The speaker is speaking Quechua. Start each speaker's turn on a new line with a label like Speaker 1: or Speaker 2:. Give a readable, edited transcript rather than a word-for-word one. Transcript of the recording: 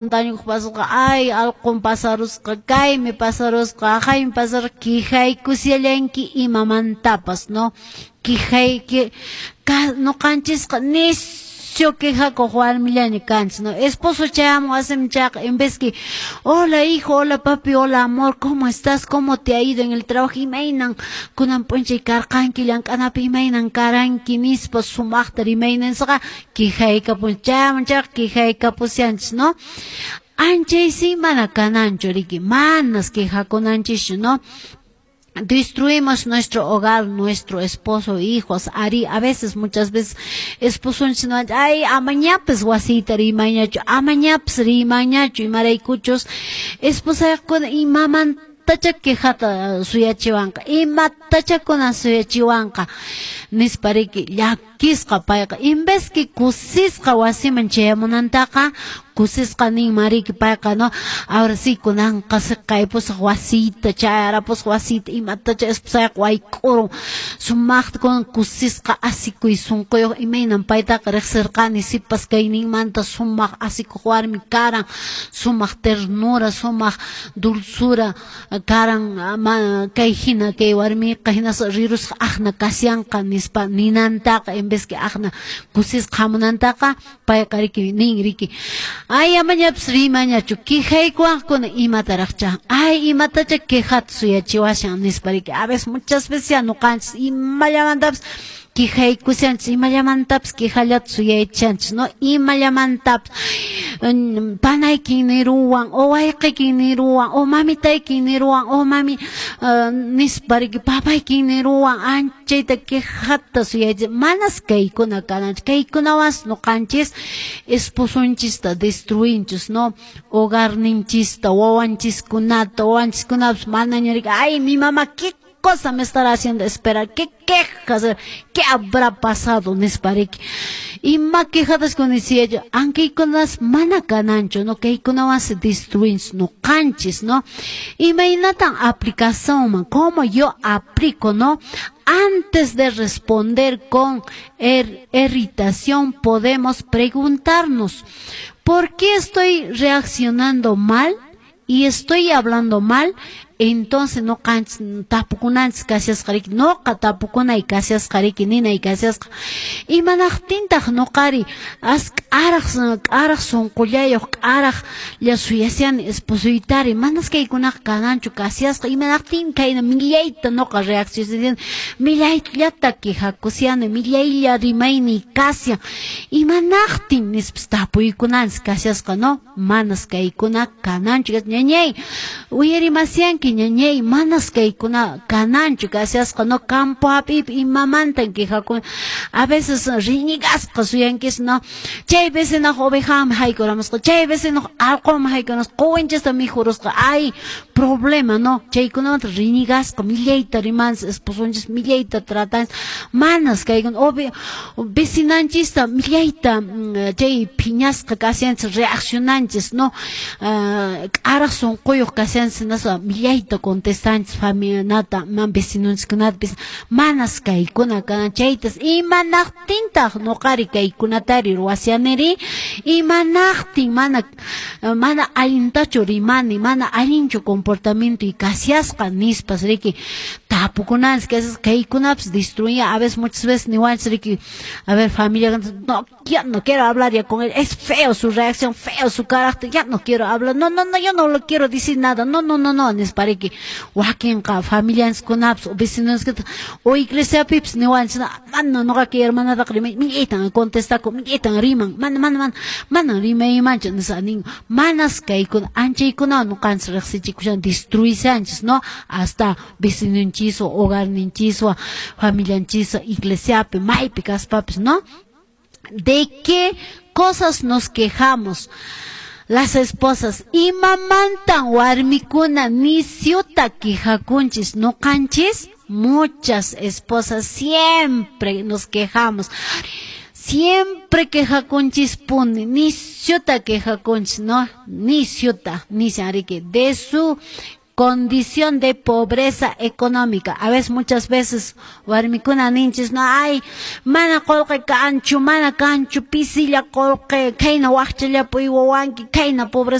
Speaker 1: Dañuq pasasqa, ay alqun pasarusqa, kaymi pasarusqa, aqhaymi pasarusqa, quejaykushallanki imamantapas, no? Quejayki, nuqanchisqa nisyu quejakuq warmillaña kanchis, no? Esposo chayamun wasiman chayqa, en vez que "Hola, hijo, hola, papi, hola, amor, ¿cómo estás? ¿Cómo te ha ido en el trabajo? Imaynan kunan p'unchay karqanki llank'anapi, imaynan karanki?" nispa sumaqta rimayninsaqa quejaykapun, chayamun chayqa quejaykapushanchis, no? Anchaysi mana kananchu riki, manas quejakunanchischu, no? Destruimos nuestro hogar, nuestro esposo, hijos. Ari, a veces, muchas veces, esposonchis no, ay, amañapas wasiyta rimayñachu, amañapas rimayñachu, imaraykuchus, esposayqkuna imamantacha quejata suyachiwanqa, imatacha kuna suyachiwanqa, nispa riki, llakisqa payqa, en vez que kusisqa wasiman chayamunantaqa, kusisqa ninman riki payqa, no, ahora sí, kunanqa siqaypusaq wasiyta, chayarapusaq wasiyta, imatacha esposayqa wayk'urun, sumaqta kunan kusisqa asikuy sunquyuq, imaynan paytaqa riqsirqani sipas kayninmanta sumaq asikuq warmi karan, sumaq ternura, sumaq dulzura karan, kay hina kay warmiqa hinaspa rirusqa aqna kasyanqa nispa ninantaqa, en vez que aqna kusisqa hamunantaqa, payqa riki nin riki, ay, amañapas rimañachu, quejaykuwaqkuna imataraqcha, ay, imatacha quejata suyachiwashan nispa riki. A veces, muchas veces ya nuqanchis imallamantapas quejaykushanchis, imallamantapas quejallata suyaychanchis, no? Imallamantapas panaykin niruwan, o wayqiykin niruwan, o mamitaykin niruwan, o mami nispa riki, papaykin niruwan, anchayta quejata suyaychis. Manas kaykuna kananchis, kaykunawansi nuqanchis esposonchista destruinchis, no? Hogarninchista, wawanchiskunata, wawanchiskunapas manaña riki, ay, mi mamá, ¿qué cosa me estará haciendo esperar? ¿Qué quejas? ¿Qué habrá pasado? Nispa riki. Ima quejatas kunisiya, ankaykunas mana kananchu, no? Kaykunawan se destruinchis nuqanchis, no? Imaynatan aplicacionman? ¿Cómo yo aplico, no? Antes de responder con irritación, podemos preguntarnos: ¿por qué estoy reaccionando mal y estoy hablando mal? Entonces nuqanchis tapukunanchis kashasqa riki, nuqa tapukunay kashasqa riki, ninay kashasqa, imanaqtintaq nuqari as k'araq k'araq sunqullayuq k'araqlla suyashani esposoytari? Manas kaykunaqa kananchu kashasqa. Imanaqtin kayna millayta nuqa reaccionani, millayllata quejakushani, millaylla rimayniy kashan, imanaqtin nispas tapuykunanchis kashasqa, no? Manas kaykuna kananchu, ñañay, uyarimasyanki, ñañay, manas kaykuna kananchu kashasqa, no? Campo hap'iypi imamantan quejakun, a veces riñigasqa suyankis, no? Chay vecinaq ovejanman haykuramusqa, chay vecinaq allqunman haykuramusqa, quwinchista mikhurusqa, ay, problema, no? Chaykunamanta riñigasqa millayta rimanchis esposonchis, millayta tratanchis. Manas kaykuna, vecinanchista millayta chay phiñasqa kashanchis, reaccionanchis, no? K'araq sunquyuq kashanchis, hinaspa millayta contestanchis familianata, vecinonchiskunata. Manas kaykuna kanan. Chaytas imanaqtintaq nuqari kaykunatari ruwashaniri? Imanaqtin mana allintachu rimani, mana allinchu comportamientoy kashasqa nispas riki tapukunanchis kashasqa. Kaykunapas destruyen. A veces, muchas veces niwanchis riki, a ver, familia: "No, ya no quiero hablar ya con él, es feo su reacción, feo su carácter, ya no quiero hablar, no, no, no, yo no lo quiero decir nada, no, no, no, no" nispa riki. Wakinqa familianchiskunapas o vecinoskunata o iglesiapipis niwanchis: "Mana nuqaka hermanataqa rimay, millaytan contestakun, millaytan riman, mana, mana, mana, mana rimaymanchu" nispa nin. Manas kaykuna, anchaykunawan nuqanchis riqsichikushan, destruishanchis, no? Hasta vecinonchiswan, hogarninchiswan, familianchiswan, iglesiapi, maypi kaspapis, no? ¿De qué cosas nos quejamos las esposas? Imamantan warmikuna nisyuta quejakunchis nuqanchis? Muchas esposas siempre nos quejamos. Siempre quejakunchispuni, nisyuta quejakunchis, no? Nisyuta, nisyan riki, de su Condición de pobreza económica. A veces, muchas veces, warmikuna ninchis, no, ay, mana qolqe kanchu, mana kanchu, pisilla qolqe, khayna waqchallapi uywawanki, khayna pobreza.